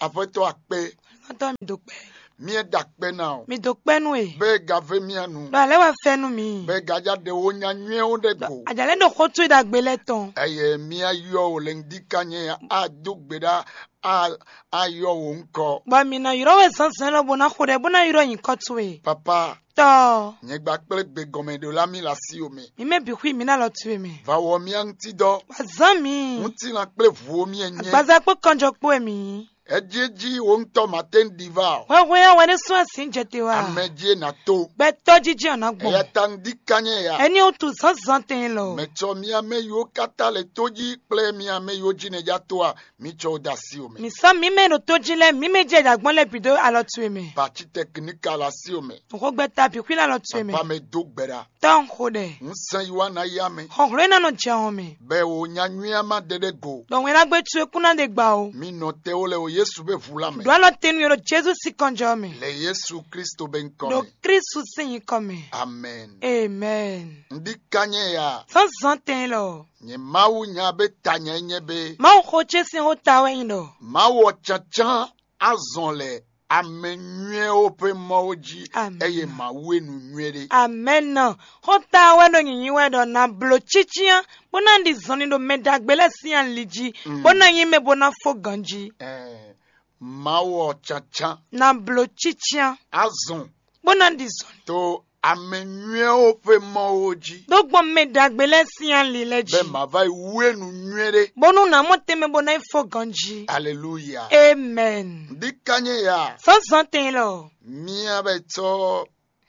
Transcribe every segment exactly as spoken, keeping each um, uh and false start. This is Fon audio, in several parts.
Aƒetɔ akpe, Xɔ́ntɔn mi do kpɛ́. míɛ da kpe ná o. Mi do kpɛ́ nú e. Be ga ve mía nu. Ɖo alɛ wɛ fɛ nú mi. Be ga ja ɖe wo nya nyuie wo ɖe go. Ajalɛ ɖo xó towe ɖagbe lɛ́ɛ tɔn. Eye mía yɔ wo le ŋdi kanye a do gbe ɖa a a yɔ wo ŋkɔ. Bɔ mi nɔ yrɔ wɛ zɔnzɔn lɔ bo na xo ɖɛ bo na yrɔ nyǐkɔ towe. Papa, Tɔ, nyɛ gba kple gbe gɔmɛ ɖo la mi la si o me. mi mɛ bi xwi mi na lɔ towe mɛ. Va wɔ mía ŋuti dɔ. Wazan mi. Ŋuti lan kple vo mía nyɛ. Agbaza kpó kɔnjɔ kpó e mi. Eji eji wo ŋutɔ ma te ŋdi va o. Hwɛhwɛ ya wɛ ne sún asi jɛ te wa. Ame ji na to. Gbɛtɔ jiji ɔna Eya gbɔn. ta ŋdi kanye ya. Ɛni o tu zɔnzɔn tɛn lɔ. Mɛ tsɔ mía mɛ yiwo kata le to ji kple mía mɛ yiwo ji ne ja to a mi tsɔ wo da si o me. Mi sɔ mi mɛ ɖo to ji lɛ mi mɛ jɛ ɖagbɔn lɛ bi do alɔ tu e mɛ. Parti technique la si o me. Nxo gbɛta bi xwi la lɔ tu e mɛ. Papa me do gbe ɖa. Tɔ nxo ɖɛ. Ŋsɛn yi wa na ya me. Xɔxlɔ́ na nɔ jɛ hɔn mɛ. Bɛ wo nya nyuia ma ɖe ɖe go. Ɖɔ wɛn la gbé tu e kún na ɖe gba o. Mi nɔ te wo le o Yesu be vu la me. Ɖo alɔ tenu yɔrɔ Jesu si kɔnjɔ mɛ. Le Yesu Kristo be ŋkɔ Ɖo me. Kristu sin nyikɔ mɛ. Amen. Amen. Ŋdi kanye ya. Zɔnzɔn tɛn lɔ. Nye Mawu nya be ta nya nye be. Mawu xo ce sin xó ta wɛ nyi ɖɔ. Mawu ɔ tsantsan azɔn le ame nyuiwo ƒe mɔwo ji. Amen. Eye Mawu e nu nyuie ɖe. Amen. Xó ta wɛ ɖo nyinyi wɛ ɖɔ na blo cician bó ná ɖi zɔnni ɖo mɛ ɖagbe lɛ sín ali jí. Mm. Bó ná nyi mɛ bó ná fó ganjí. Eh, Mawu ɔ tsantsan Na blo cician azɔn bó ná ɖi zɔnni. to ame nyuiwo ƒe mɔwo ji. Ɖó gbɔn mɛ ɖagbe lɛ sín ali lɛ jí. Be ma va yi wu e nu nyuie ɖe. Bónú ná mɔ tɛnmɛ bó ná yi fó ganjí. Aleluya. Amen. Ŋdi kanye ya. Sɔ́ zɔn tɛn lɔ. Mía bɛ tsɔ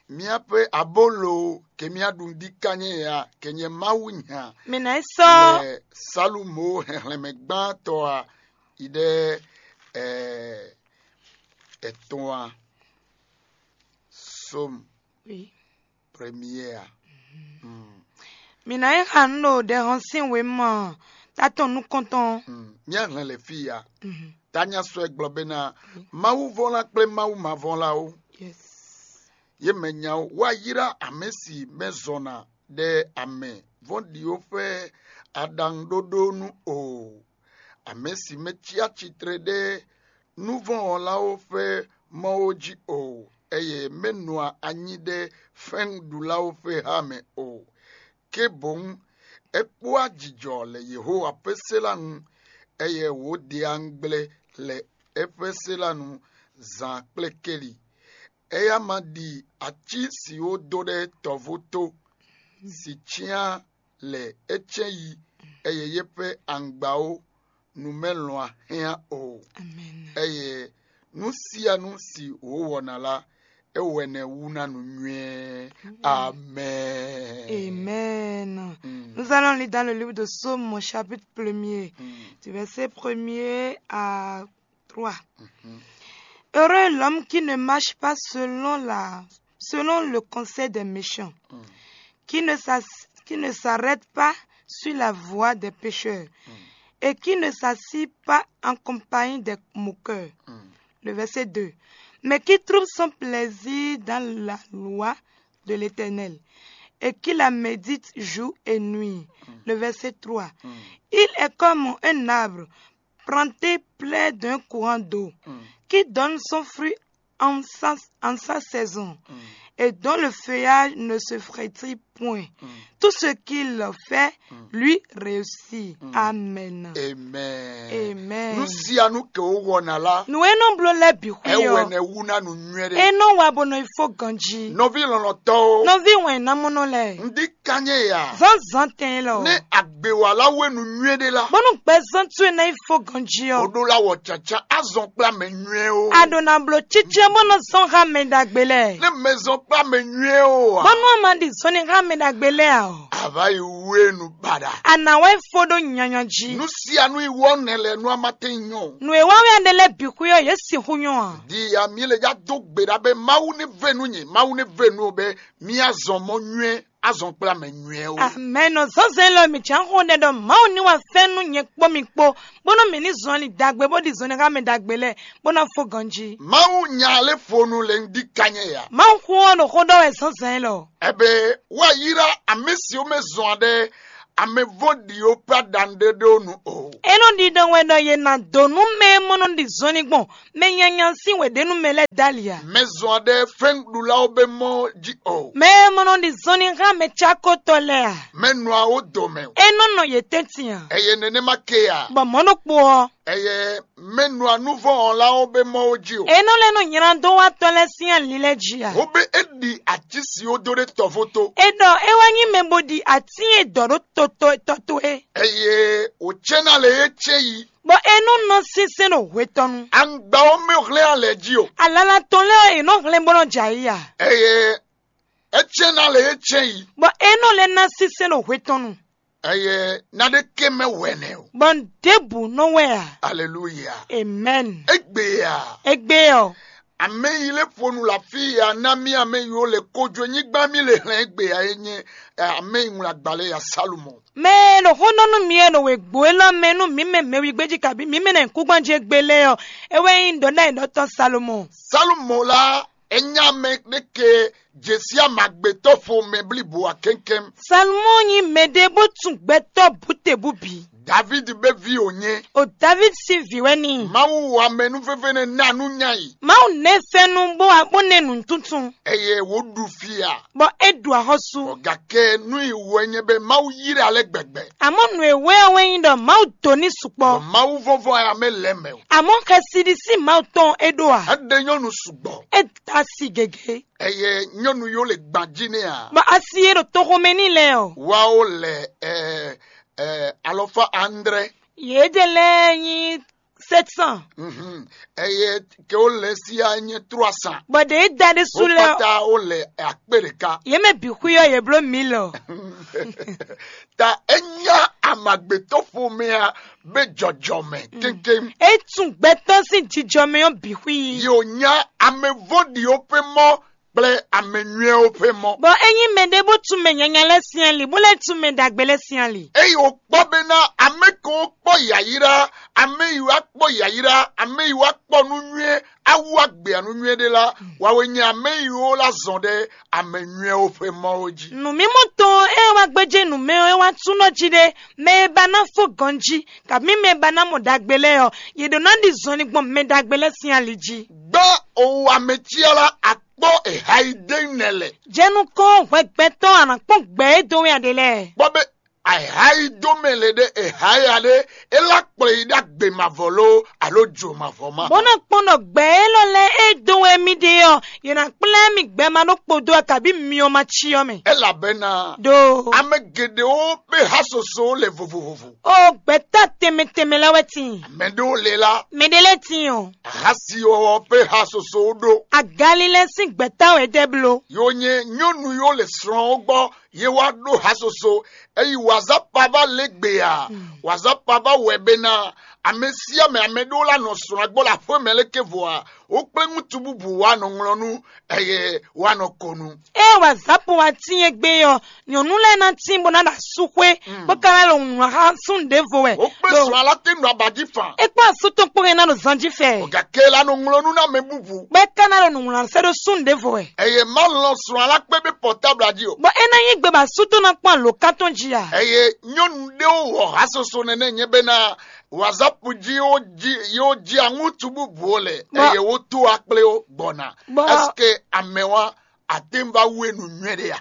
míaƒe abolo ke míaɖu ŋdi kanye ya ke nye Mawu nya. Mɛ ná yi sɔ́. Le Salumo hɛhlɛnmɛ gbãtɔ a yi ɖe eh, etɔn a som Oui. premier a. Mm. Mǐ ná yi xa nǔ ɖo ɖɛhɔn sín wěma tatɔn nukɔntɔn. Mm. Míahlɛn le fí ya. Mhm. Tanya sɔ́ ɛ gblɔ bena Mawu vɔ́n la kple Mawu ma vɔ́n la ó. Yes. Ye mɛ nyawo wá ylá amɛ si mɛ zɔn ná ɖe amɛ vɔ́ɖiwo ƒe aɖaŋuɖoɖo nu o. Amɛ si mɛ tsi atsitre ɖe nuvɔ́nwɔlawo ƒe mɔwo jí o, eye mɛ nɔa anyi ɖe fɛnɖulawo ƒe ha mɛ o. Ke boŋ é kpóa jijɔ le Yehowa ƒe se la nu, eye wǒ ɖe angble le eƒe se la nu zan kple keli. Eya ma ɖi ací siwo dó ɖe tɔvo tó, si cyán le é cɛ́n yi, eye yé ƒe angbawo nu mɛ lɔn ahɛ́n o, Amen. eye nú sia nú si wǒ wɔna la, é wɛ nɛ wú ná nu nyuie. Amen. Amen. Mm. Nous allons lire dans le livre de Psaumes, chapitre premier, Mm. du verset premier à trois. Mhm. Heureux l'homme qui ne marche pas selon la, selon le conseil des méchants, Mm. qui ne s'as-, qui ne s'arrête pas sur la voie des pécheurs, Mm. et qui ne s'assit pas en compagnie des moqueurs. Mm. Le verset deux. Mais qui trouve son plaisir dans la loi de l'Éternel, et qui la médite jour et nuit. Le verset trois. Mm. Il est comme un arbre planté près d'un courant d'eau, Mm. qui donne son fruit en sa, en sa saison, Mm. et dont le feuillage ne se flétrit point. Mm. Tout ce qu'il fait Mm. lui réussit. Mm. Amen. Amen. Amen. Nu sia nu ke wowɔna la, Nu e nɔ bló lɛ bǐ xwí ewɛ ɔ, nɛ wu na nu nyuie e ɖe. Nɔ wa bɔ nɔ yi fó ganjí. Nɔvi lɔlɔtɔwo, Nɔvi wɛn namɔnɔ lɛ. Ŋdi kanye ya. Zɔnzɔn tɛn lɔ. Ne agbewala we nu nyuie ɖe la, Bɔnu gbɛzɔn tu e na yi fó ganjí o ɔ. ɖo la wɔ tsatsa azɔn kple ame nyuie o. A ɖo na bló tsitsi bɔ nɔ zɔn ha mɛ ɖagbe lɛ. Ne mɛ zɔn kple ame nyuie o a, Bɔnu a ma ɖi zɔn ni ha mɛ ɖagbe lɛ a ɔ. a va yi wu e nu baɖa. A na wɛ fó ɖo nyanya jí. Nu sia nu yi wɔ nɛ lɛ nu a ma te nyɔ. Nu e wa wɛ aɖe lɛ bǐ xwí ɔ, yě sixú nyɔ a. Di ya mi le ya do gbe ɖa be Mawu ne ve nu nyi, Mawu ne ve nu o be mi azɔn mɔ nyuie, azɔn kple ame nyuie o. Amɛn. Nɔ zɔnzɛn lɔ mi tsɛ xo ɖɛ ɖɔ Mawu ní wa fɛn nú nyɛ kpó mi kpó, bónú mi ní zɔn ali dagbe bó ɖi zɔn ní ha mɛ dagbe lɛ, bó ná fó ganjí. Mawu nya le fonu le ŋdi kanye ya. Mawu xó ɔ ɖo xó ɖɔ wɛ zɔnzɛn lɔ. Ebe wa yira ame siwo me zɔn ɖe Ame vɔ́ ɖi ó pé aɖaŋu ɖé ɖó nu o. É nɔ ɖiɖɔ wɛ ɖɔ yě ná dó nú mɛ e mɔ nɔ ɖi zɔnlin gbɔn mɛ nyanya sín wěɖénu mɛ lɛ́ɛ dali ǎ. Mɛ zɔn aɖe fɛnɖula ó be mɔ jí o. Mɛ e mɔ nɔ ɖi zɔnlin xá mɛ cákotɔ lɛ́ɛ ǎ. Mɛ nɔ awo dome o. É nɔ nɔ yě tɛ́ntin ǎ. Eye nenema ke a. Bɔ mɔ̌ ɖokpó ɔ́, Eye mɛ nɔ anuvɔn ɔ́ la ó be mɔ ó jí o. É nɔ lɛ́ nɔ nylá dó wá tɔ́ lɛ́ɛ sín ali lɛ́ɛ jí ǎ. Ó be é ɖi atísi ó dó ɖé tɔvo tó. É ɖɔ é wá nyí mɛ bo ɖi atín e dɔ̌ ɖó toto tɔ́ towe. Eye wòcɛ́ ná lě e cɛ́ yi. Bɔ é nɔ nɔ sínsɛ́n ɖo hwe tɔn nu. Angba ɔ́ mɛ hwlɛ́n alɛ jí o. Alala tɔn lɛ́ɛ ɔ́, è nɔ hwlɛ́n bó nɔ jɛ ayǐ a. Eye é cɛ́ ná lě e cɛ́ yi. Bɔ é nɔ lɛ́ ná sínsɛ́n ɖo hwe tɔn nu. Eye ná ɖé ké mɛ wɛ̌nɛ o. Bɔ ɖěbǔ nɔ wɛ a. Aleluya. Amen. Egbe a. Egbe ɔ. Ame yi lé ƒonu le afí ya ná mì ame yiwo le kojo nyigba mì le hlɛn egbe a e nyɛ ame yi ŋlɔ agbalẽ ya Salomo. Mɛ e ɖo xó ɖɔ nú mi e ɖo wěgbó élɔ́ mɛ nú mǐ mɛ mɛwígbéjí kabi mǐ mɛ nɔ nyǐkúngban jí égbé lɛ́ɛ ɔ́, é wɛ nyí ɖɔ̌ɖaɖɔ̌tɔ́ Salomɔ. Salomo la, é nyí ame ɖé ke je sí amagbetɔ́ xomɛ blibo ǎ kɛ́nkɛ́n. Salomɔ nyí mɛɖé bó tun gbɛtɔ́ bǔtebú bǐ. David be vi wònye. O David sín vǐ wɛ n'i. Mawu wa mɛ nú veve ne ná nú nya yi. Mawu nɛ fɛ́nú bó wá bó nɛ nǔtuntun. Eye wò ɖu fia. Bɔ é ɖu axɔ́sú. Bɔ gake nú yi wɛ nye be Mawu yi ɖe alɛ gbɛgbɛ. Àmọ́ nǔ e wɛ ɔ́ wɛ nyí ɖɔ Mawu dó ní sukpɔ́. Bɔ Mawu vɔvɔ ya mɛ lɛ mɛ o. Àmọ́ xɛsi ɖi sín Mawu tɔn é ɖó a. Eɖe nyɔnu sugbɔ. É da si gěgé. Eye nyɔnu yo le gban jí nɛ a. Bɔ asi e ɖo toxo mɛ n'i lɛ ɔ. Wa wo le ɛ ɛ alɔfa andre. Yě ɖe lɛ́ɛ nyí sept cent. Mhm. Eye ke wo le sia nye trois cents. Bɔ ɖe é da ɖésú lɛ ɔ. Pata wo le akpe ɖeka. Yě mɛ bǐ xwí ɔ́ yě bló mǐ lɔ. Ta enya amagbetɔ́ xomɛa be jɔjɔmɛ kéŋkéŋ. É tún gbɛtɔ́ sín jijɔmɛ ɔ́ bǐ xwí. Yo nya ame vɔ́ɖiwo ƒe mɔ kple ame nyɔ́ɛwo ƒe mɔ. Bɔ é nyí mɛɖé bó tún mɛ nyanya lɛ́ɛ sín ali, bó lɛ́ tún mɛ ɖagbe lɛ́ɛ sín ali. Eye wòkpɔ be ná ame ko kpɔ yayra, ame yi wá kpɔ yayra, ame yi wá kpɔ nú nyɔ́ɛ, awu agbe anu nyɔ́ɛ ɖé la, wawe nyɛ ame yi wo la zɔn ɖe ame nyɔ́ɛwo ƒe mɔwo jí. Nǔmimɔ tɔn e wá gbéjé nǔ mɛ ɔ́, é wá túnɔ jí ɖé, mɛ e ba ná fó ganjí, kabí mɛ e ba ná mɔ ɖagbe lɛ́ɛ ɔ́, yě ɖó ná ɖi zɔnlin gbɔn mɛ ɖagbe lɛ́ɛ sín ali jí. Gbá owó amɛtsia la akpɔ eha yi dé nɛ lɛ. Jɛ nukɔn hwɛgbɛtɔ́ a nǎ kpɔn gbɛ e dó wɛ a ɖe lɛ́ɛ. Kpɔ be eha yi dó mɛ le ɖe eha ya ɖe, é lá kplɔ yi ɖó agbe mavɔ ló alo jo mavɔ ma. Bó ná kpɔn ɖɔ gbɛ élɔ́ lɛ́ɛ e dó wɛ mì ɖe ɔ́, yě ná kplá mì gbɛ ma ɖó kpodó a kabí myɔ ma cyɔ mɛ. Elabɛna ɖo ame geɖewo ƒe hasoso le vovovo. O gbɛtɔ́ tɛnmɛ tɛnmɛ lɛ́ɛ wɛ tin. Mɛ ɖewo le la. Mɛ ɖe lɛ́ɛ tin o. Hasi ɔ́ ƒe hasoso ɖo. Agalilɛ sín gbɛtɔ́ wɛ dɛ bló. Yo nye nyɔnu yo le srɔ̃ wo gbɔ, ye wá ɖó hasoso. Eyi wazapa va lé gbe a? Wazapa va wɛ be na ame sia ame, ame ɖewo la nɔ srɔ̃ agbɔ le aƒe mɛ leke vɔ a? Wo kple ŋutu bubu wa nɔ ŋlɔ nu, eye wa nɔ ko nu. Ée wazapa wa tín egbe ɔ́, nyɔ̌nu lɛ́ɛ ná tín bó ná ɖo asúxwé, bó ka ná ɖo nǔ xá súnnu ɖěvo wɛ. Wo kple srɔ̃ alá tɛ́ nɔ aba jí fan. É kpó asú tɔn kpó hɛn ná ɖo zan jí fɛ. Gake la nɔ ŋlɔ nu ná mɛ bubu. Bɔ é ka ná ɖo nǔ wlán sɛ́ ɖó súnnu ɖěvo wɛ. Eye má lɔn srɔ̃ alá kpé bí pɔtábla jí o. Bɔ é ná nyí gbe bɔ asú tɔn ná kpɔ́n alǒkan tɔn jí a? Eye nyɔnu ɖéwo wɔ hasoso nɛnɛ nyɛ bɛ́ ná wazap jí yóò jí yóò jí aŋútu bubu o lɛ. Eye wó tó akplé ó gbɔna. Est-ce que amɛ wa àtɛ́n va wú e nǔnywɛ́ ɖé a?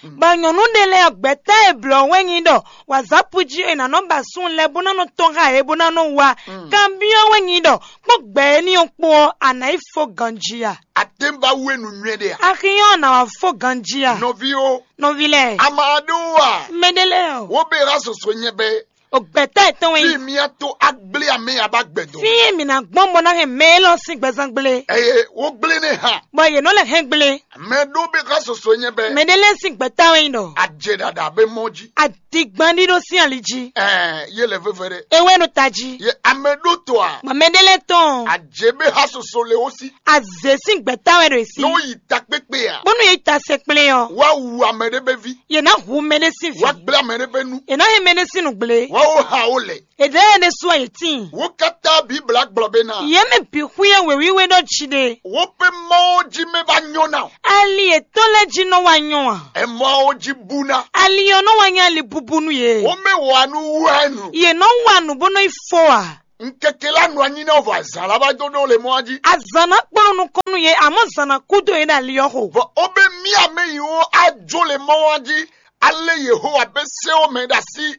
Bɔ nyɔ̌nu ɖé lɛ́ɛ gbɛ̌ta e blɔ̌ wɛ nyi ɖɔ wǎzápu jí è nǎ nɔ ba súnnu lɛ́ɛ bó ná nɔ tɔ́n xá yě bó ná nɔ wá. Kanbyɔ́ wɛ nyi ɖɔ kpɔ́n gbɛ éní ɔ́ kpó ɔ́, a nǎ yi fó ganjí a? Àtɛ́n va wú e nǔnywɛ́ ɖé a? Axi ɔ́, a nǎ wá fó ganjí a? Nɔví ó. Nɔví lɛ́ɛ. Ama ɖó a? Mɛɖé lɛ́ɛ o. Wo be ra soso nyɛ bɛ. O gbɛ̌ta yětɔn wɛ Fí nyi. Mía tó agblé amɛ aba gbɛdɔ. Fí e mǐ ná gbɔn bɔ ná hɛn mɛ élɔ́ sín gbɛzán gblé. Eye wo gblé ne ha. Bɔ yě nɔ lɛ hɛn gblé. Mɛ ɖó be xa soso nyɛ bɛ. Mɛ ɖé lɛ́ɛ sín gbɛ̌ta wɛ nyi ɖɔ. Adze ɖaɖa be mɔ jí. Adigban ɖíɖó sín ali jí. Ɛɛ, ye le veve ɖe. Ewɛ ɖo tají. Ye ame ɖó to a? Mɔ mɛ ɖé lɛ́ɛ tɔn. Adze be xa soso le wo si. Azě sín gbɛ̌ta wɛ ɖo èsí. N'o yi ta kpékpé a? Bónú yě ta se kplé ɔ. Wa wu ame ɖé be vi. Yě ná hu mɛ ɖé sín vi. Wa gblé ame ɖé be nu. Yě ná hɛn mɛ ɖé sín nǔgblé. Mawu xa wo lɛ. Èɖɛ́ ɖésú ayǐtín. Wo katã bǐ blǎ gblɔ bé ná. Yě mɛ bǐ xwíyɛ́ wěwíwé ɖɔ jí ɖe. Woƒe mɔwo jí mɛ va nyɔ́ ná o. Ali yětɔn lɛ́ɛ jí nɔ wá nyɔ́ a? Ɛmɔawo jí bú ná. Ali ɔ́ nɔ wá nyí ali búbú nú yě. Womɛ wa nú wɛnu. Yě nɔ wa nǔ bó nɔ yi fɔ a? Ŋkeke la nɔ anyi ná vɔ azǎn la va dó ɖó le mɔ jí. Azǎn ná kplɔ́n nukɔn nú yě, àmọ́ zǎn ná kú dó yě ɖo ali ɔ́ xo. Vɔ ó bɛ mía mɛ yi wo ajo le mɔ ɔ́ jí. Ale Yehowa bɛ se wo mɛ ɖo asi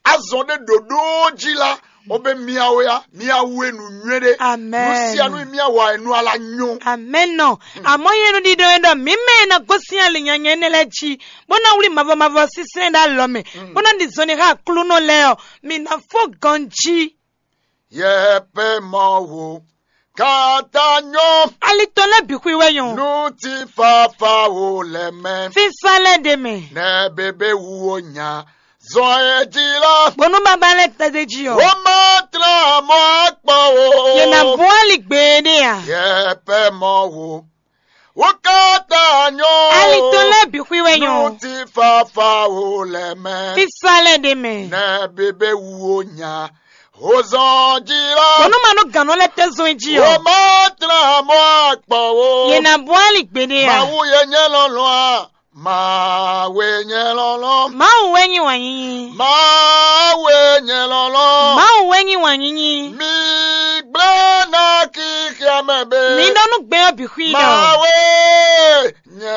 azɔn ɖé ɖoɖo jí la, ó bɛ mía wo ya, mía wu e nǔnywɛ́ ɖé. Amɛn. Nu sia nu e mía wa e nú ala nyɔ. Amɛn nɔ. Àmọ́ yě nɔ ɖiɖɔ é ɖɔ mǐ mɛ e ná gosín ali nyanya énɛ́ lɛ́ɛ jí, bó ná wlí mavɔ mavɔ sínsɛ́n ɖó alɔ mɛ, bó ná ɖi zɔnlin xá aklúnɔ lɛ́ɛ ɔ́, mǐ ná fó ganjí. Yɛpɛ mɔ wo kata nyɔ. Alitɔn lɛ́ɛ bǐ xwí wɛ nyɔ. Nu ti fafa wo lɛ mɛ. Fífá lɛ́ɛ ɖe mɛ. Nɛ bebe wu wo nya. Zɔn e jí la. Bónú baba lɛ́ɛ tɛ́ dé jí ɔ́. Wo ma tlã mɔ akpɔ o. Yě ná bú ali gbeɖé a? Yɛpɛ mɔ wo. Wo kata nyɔ. Alitɔn lɛ́ɛ bǐ xwí wɛ nyɔ. Nu ti fafa wo lɛ mɛ. Fífá lɛ́ɛ ɖe mɛ. Nɛ bebe wu wo nya. Hozɔn jí la. Bónú ma nɔ gǎn nɔ lɛ́ɛ tɛ́ zɔn jí ɔ́. Wo ma tlã mɔ akpɔ o. Yě ná bú ali gbeɖé a? Mawu ye nyɛ lɔlɔn a? Mawu ye nyɛ lɔlɔn. Mawu wɛ nyí wǎnyínyí. Mawu ye nyɛ lɔlɔn. Mawu wɛ nyí wǎnyínyí. Mi gblé ná kíkíá mɛ bɛ. Mi ɖɔ nú gbɛ ɔ́ bǐ xwí ɖɔ. Mawu ye nyɛ